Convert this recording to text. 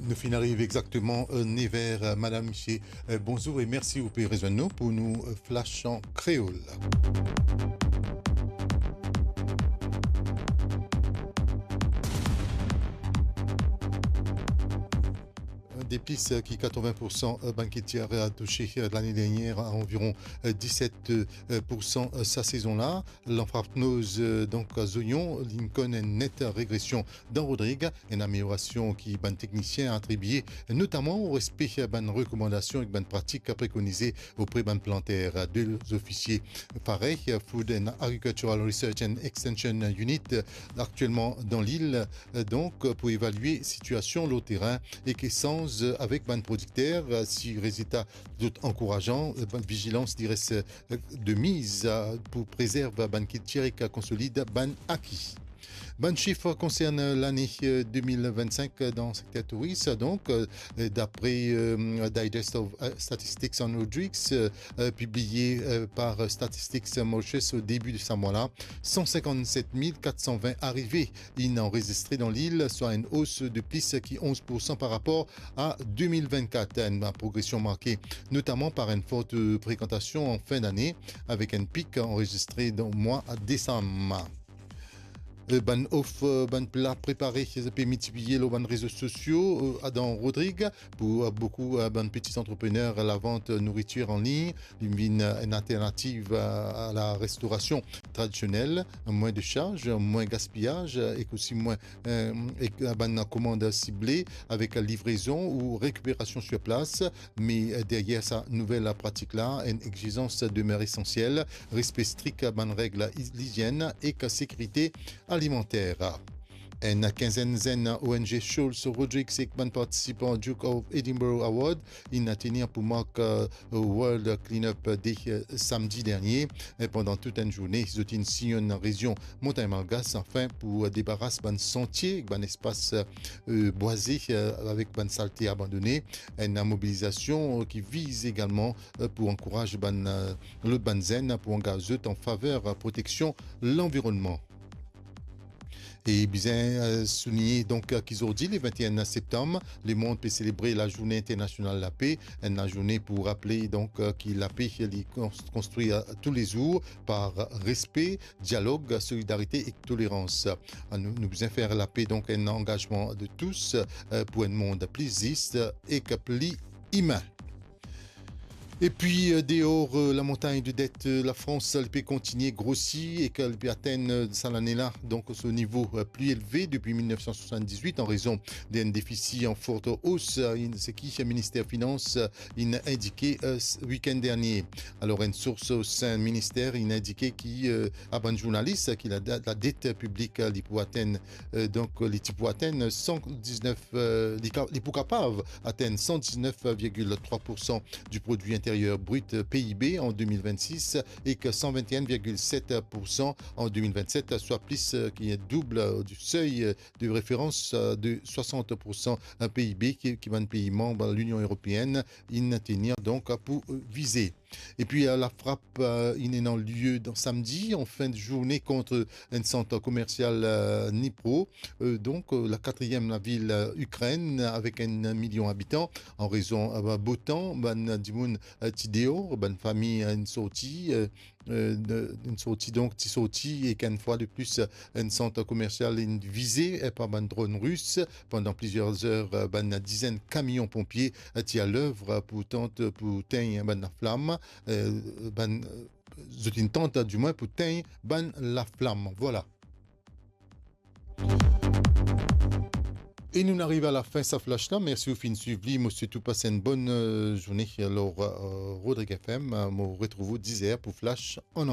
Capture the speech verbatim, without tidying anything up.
Nou finn ariv exakteman, euh, nev er, euh, madam, misie, euh, bonzour e mersi ou pe rezwenn nou pou nou, euh, flash an kreol. De plis, euh, ki katrovin pour san, euh, bann kiltir, euh, touse, euh, lane dernie, anviron, euh, diset, euh, pour san, euh, sa sezon la. Lanfrapnoz, euh, donk, zoyon, linn konn enn net regresion dan Rodrig, enn ameliorasion ki bann teknisien atribie notaman o respe bann rekomandasion ek bann pratik prekonize opre bann planter. De zofisie parey, Food and Agricultural Research and Extension Unit, aktielman dan lil, donk, pou evalie sitiasion lor terin ek esanz avek bann prodikter. Si rezilta zot ankourajan, bann vizilans li res de miz, euh, pou prezerv bann kiltir ek konsolid bann aki. Bann sif konsern lane, euh, de mil vinn-sink dan sekter touris. Donk, euh, dapre, euh, Digest of, euh, Statistics on Rodrigues, euh, euh, pibliye, euh, par Statistics Mauritius o debi de sa mwa la, san sinkant-set mil kat san vin arive inn anrezistre dan lil, swa enn os de plis ki onz pour san par rapor a de mil vinn-kat. Enn progresion marke notaman par enn fort, euh, frekantasion an fin dane, avek enn pik anrezistre dan mwa desam. Euh, bann of, euh, bann pla prepare pe miltipliye lor bann rezo sosio, euh, dan Rodrig. Pou, euh, boukou, euh, bann peti antreprener, lavant nouritir an lign, li vinn, euh, enn alternativ, euh, a la restorasion tradisionel, mwin de sars, mwin gaspiyaz, euh, ek osi mwin, euh, ek, euh, bann komand sible avek livrezon ou rekiperasion sir plas. Me, euh, deryer sa nouvel pratik la, enn exizans demer esansiel, respe strik bann reg li-, lizienn ek sekirite alimanter. Enn kinzenn zenn O N G Scholes Rodrigues ek bann partisipan Duke of Edinburgh Award inn tenir pou mark, euh, World Cleanup Day, euh, samdi dernie. E pandan tou enn zourne, zot inn siy enn rezion montagn malgas, anfin, pou debaras bann santie, bann espas, euh, bwaze, euh, avek bann salte abandone. Enn mobilizasion, euh, ki viz egalman, euh, pou ankouraz bann, euh, lot bann zenn pou angaz zot an faver, euh, proteksion lanvironnman. E bizin, euh, souligne, donk, euh, ki zordi, le vinn-enn septam, lemond pe selebre Lazourne Internasional Lape, enn lazourne pou raple, donk, euh, ki lape, li kons-, konstri, euh, toulezour par respe, dialog, solidarite ek tolerans. Euh, nou, nou bizin fer lape, donk, enn angazman de tous, euh, pou enn mond pli zis ek pli imin. Epi, euh, deor, euh, lamontagn de det, euh, Lafrans, li pe kontigne grosi ek li pe atenn, euh, sa lane la, donk, so nivo, euh, pli elve depi mil nef san swasann-diz-wit an rezon de enn defisi an fort os, euh, in-, seki Minister Finans, euh, inn indike, euh, s-, wikenn dernie. Alor, enn sours o sein minister inn indike ki, euh, a bann zournalis, euh, ki la, la det piblik, euh, li pou atenn, euh, donk, li ti pou atenn san diznef, euh, li ka-, li pou kapav atenn san diznef virgil trwa pour san di Prodwi Interyer Brit, euh, P I B an de mil vinn-sis ek san vinn-enn virgil set pour san an de mil vinn-set, swa plis, euh, ki doub, euh, di sey, euh, de referans, euh, de swasant pour san, euh, P I B ki, ki bann pei manb Linion Eropeenn inn tenir donk pou, euh, vize. Epi, euh, lafrap, euh, inn ena lie dan samdi, an fin de zourne, kont enn sant komersial, euh, Dnipro, euh, donk, euh, la katriem lavil, euh, Ikrenn, avek enn milion abitan, an rezon, euh, bo tan, bann dimoun, euh, ti deor, bann fami, euh, inn sorti, euh, euh, de, inn sorti, donk, ti sorti, ek enn fwa de plis, euh, enn sant komersial inn vize, euh, par bann dronn ris. Pandan plizier zer, euh, bann dizenn kamion ponpie, euh, ti alev, euh, pou tant, euh, pou tegn bann laflam, euh, bann, euh, zot inn tant, euh, dimwin pou tegn bann laflam. Vwala. E nou ariv a lafin sa flash la. Mersi ou finn swiv li. Mo swet ou pas enn bonn, euh, zourne. Alor, euh, Rodrig F M, euh, mo retrouv ou diz er pou flash an